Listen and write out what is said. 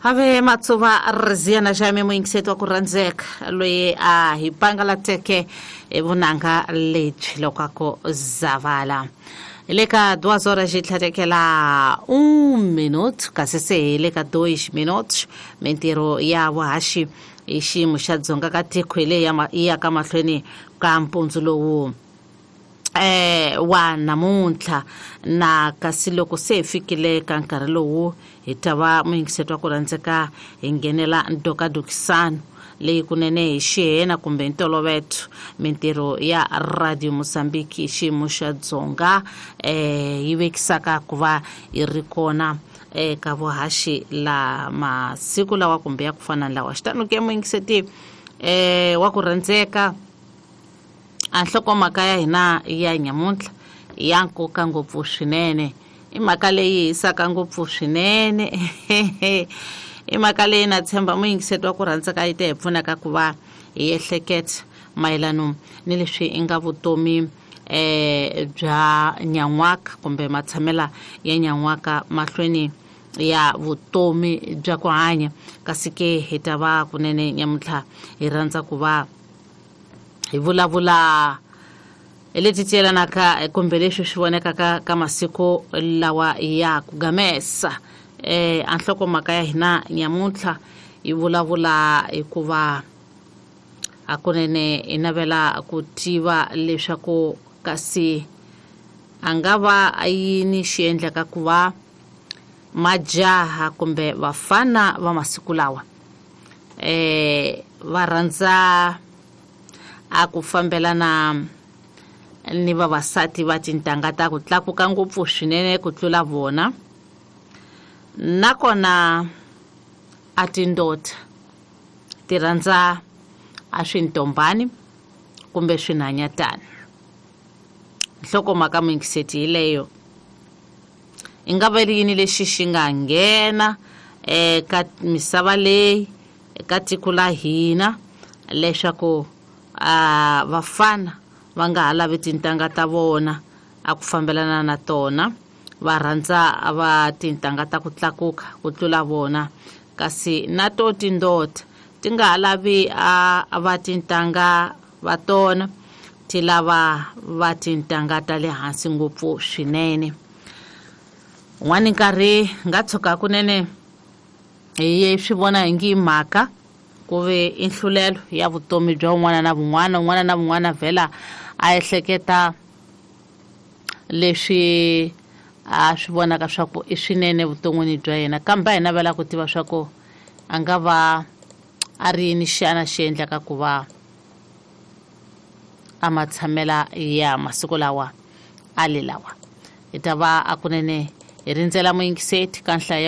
Ave matsuva Rizia na Jaime muyingiseti wa ku rhandzeka loyi a hi pangalateke hi vunanga lebyi loko a ku zavala hi le ka duas horas hi tlhatekela un minute kasi se hi le ka dois minutos mintirho ya vuhaxi hi xiyimo xa dzonga ka tiko hi leyi yi yaka mahlweni ka mpundzu lowu wa namuntlha na kasi loko se hi fikile ka nkarhi lowu hi ta va muyingiseti wa ku rhandzeka hi nghenela ndokadokisano leyi kunene hi xihena kumbe ntoloveto mintirho ya Radio Mozambique hi xiyimo xa dzonga yi vekisaka ku va yi ri kona eka vuhaxi la masiku lawa kumbe ya ku fana ni lawa. Xitano ke muyingiseti wa ku rhandzeka, a nhlokomhaka ya hina ya nyamuntlha ya nkoka ngopfu swinene, i mhaka leyi hisaka ngopfu swinene, i mhaka leyi na tshemba muyingiseti wa ku rhandzeka yi ta hi pfunaka ku va hi ehleketa mayelano ni leswi i nga vutomi bya nyan'waka kumbe matshamela ya nyan'waka mahlweni ya vutomi bya ku hanya. Kasi ke hi ta va kunene nyamuntlha hi rhandza ku va hi vulavula hi leti ti yelanaka kumbe leswi swi vonekaka ka masiku lawa ya ku gamesa. A nhlokomhaka ya hina nyamuntlha yi vulavula hikuva hakunene hi navela ku tiva leswaku kasi a nga va yini xi endlaka ku va majaha kumbe vafana va masiku lawa va rhandza a ku fambelana ni vavasati va tintangha ta ku tlakuka ngopfu swinene ku tlula vona, nakona a tindota ti rhandza a swintombani kumbe swinhanyatana. Nhlokomhaka muyingiseti hi leyo, i nga va ri yini lexi xi nga nghena eka misava leyi eka tiko la hina leswaku a vafana va nga ha lavi tintangha ta vona a ku fambelana na tona, va rhandza va tintangha ta ku tlakuka ku tlula vona, kasi na to tindota ti nga ha lavi a va tintangha va tona, ti lava va tintangha ta le hansi ngopfu swinene. Un'wani nkarhi nga tshuka kunene hi swi vona hi ngi mhaka ku ve i nhlulelo ya vutomi bya un'wana na vun'wana, un'wana na vun'wana vhela a ehleketa leswi a swi vonaka swa ku i swinene vuton'wini bya yena, kambe a hi navela ku tiva swa ku a nga va a ri yini xana xi endlaka ku va a matshamela ya masiku lawa a le lawa. Hi ta va a kunene hi rindzela muyingiseti ka nhlayo.